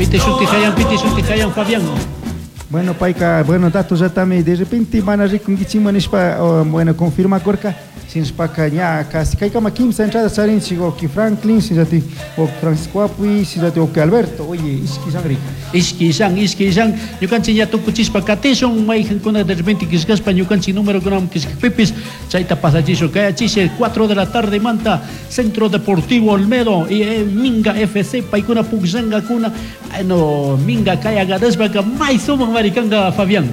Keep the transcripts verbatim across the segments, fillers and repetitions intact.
Piti shuti hayan, piti shuti hayan, Fabián. Bueno, payka, bueno, datos yatami de repente mana rikunkichikman nishpa, oh, bueno, confirmakurka, shinashpaka ña casi kaykama kimsa entrada charinchik wawki Franklin, shinallati wawki Francisco Apui, shinallati wawki Alberto, oye, ishki sangri. Ishki shan, ishki shan, ñukanchik ña tukuchishpa katishun, mayqankuna de repente killkashpa ñukanchik número killkakpipis, chayta pasachishun, kayachishe cuatro de la tarde manta, Centro Deportivo Olmedo y eh, Minga F C, paykuna pukllankakuna, bueno, Minga kaya ganashpaka may sumak marikanga, Fabián.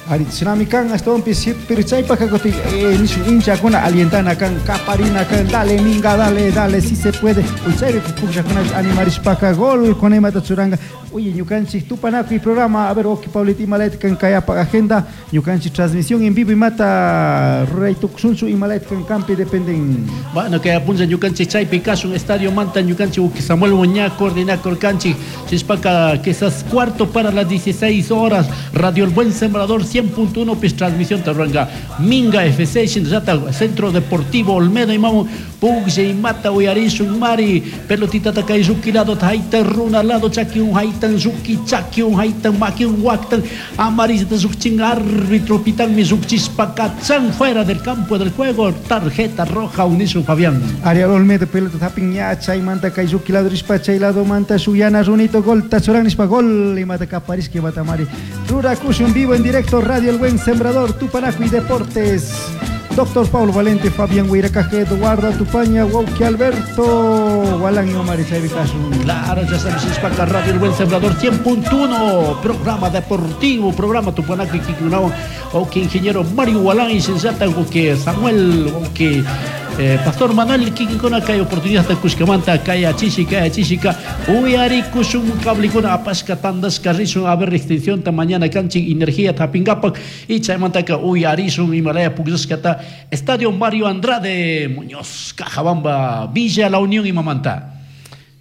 Ari, shinami kan, ashtawanpish, pero chaypaka kutin eh, nishun hinchakuna alientana kan, kaparina kan, dale Minga, dale, dale, si se puede. Uy, chaypi pukllakuna animarishpaka gol con imata churanga. Oye, ñukanchik tupanakuy programa, a ver, wawki Paulita, imalayta kan kayapa agenda, ñukanchik transmisión en vivo imata ruray tukushunchu, imalayta kan kampi dependen. Bueno, kay punlla ñukanchik chaypi kashun estadio manta ñukanchik wawki Samuel ña coordinakurkanchik, shishpaka quizás cuarto para las dieciséis horas, Radio El Buen Sembrador cien punto uno pis transmisión ruranka Minga F C shinallata Centro Deportivo Olmedo imamu puklla imata uyarishun mari pelotita kay lluki lado haytan runa lado chakiwan haytan lluki chakiwan haytan makiwan waktan amarillata llukchin árbitro pitanmi llukchishpa kachan fuera del campo del juego, tarjeta roja unishun, Fabián. Ariel Olmedo pelota hapin ña chaymanta kay lluki lado rishpa chay lado manta shuyana runito gol tachuran nishpa gol imata kaparishka imata mari rurakushun vivo en directo. Radio El Buen Sembrador, Tupanacuy Deportes, Doctor Paulo Valente, Fabián Huiracaje, Eduardo Atupaña, wawki Alberto Walan Omar chaypi kashun. Claro, ya sabes, es para Radio El Buen Sembrador cien punto uno, programa deportivo, programa Tupanacuy kikinkunawan, wawki ingeniero Mario Walán y shinallata wawki Samuel, wawki eh, Pastor Manuel kikinkuna kay oportunidad kushkamanta kay achishika achishika uyarikushun cablikuna apashka tandashka rishun a ver extensión ta mañana kanchik energía hapinkapak y chaymantaka uyarishun imalaya pukllashkata Estadio Mario Andrade Muñoz, Cajabamba, Villa La Unión imamanta.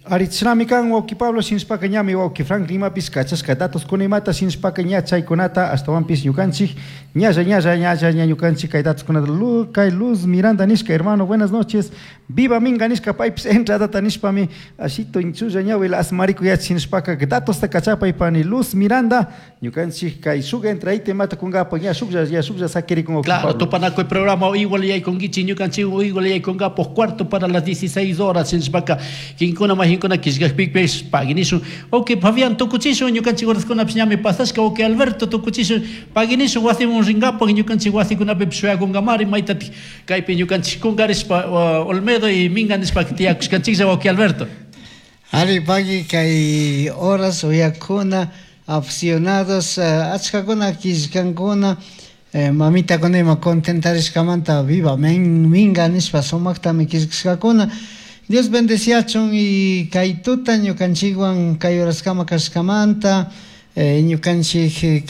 Ari chinami kan wawki Pablo shinashpaka ñami wawki Franklin imapis kachashka datos kuna imata shinashpaka ña chaykunata ashtawanpis ñukanchik ñalla ñalla ñalla ña ñukanchik kay datos kunata Lu, kay Luz Miranda nishka, hermano, buenas noches, viva Minga nishka paypis entradata nishpami ashito inchulla ñawila asmariku yach shinashpaka datosta kachapay pani Luz Miranda ñukanchik kay shuk entradita imata kunkapa ña shuklla ña shuklla sakirikun wawki Claro, Pablo. Tupanakuy programa igual yaykunkichik ñukanchik igual yaykunkapuk cuarto para las dieciséis horas shinashpaka kinkuna mahinkuna killkakpipis paginishun. Ok, Fabián, tukuchishun ñukanchik horaskunapish ñami pasashka. Ok, Alberto, tukuchishun paginishun wasimun rinkapak ñukanchik wasikunapipish shuyakunkamari maytatik kaypi ñukanchik kunkarishpa uh, Olmedo y Minga nishpa tiyakushkanchiklla, wawki Alberto. Ari pagui kay horas uyakuna aficionados uh, achkakuna killkankuna eh, mamitakuna ima contentarishkamanta viva men, Minga nishpa sumaktami killkashkakuna. Dios bendeciachun y kay tuta ñukanchikwan kay horaskama kashkamanta eh, ñukanchik eh,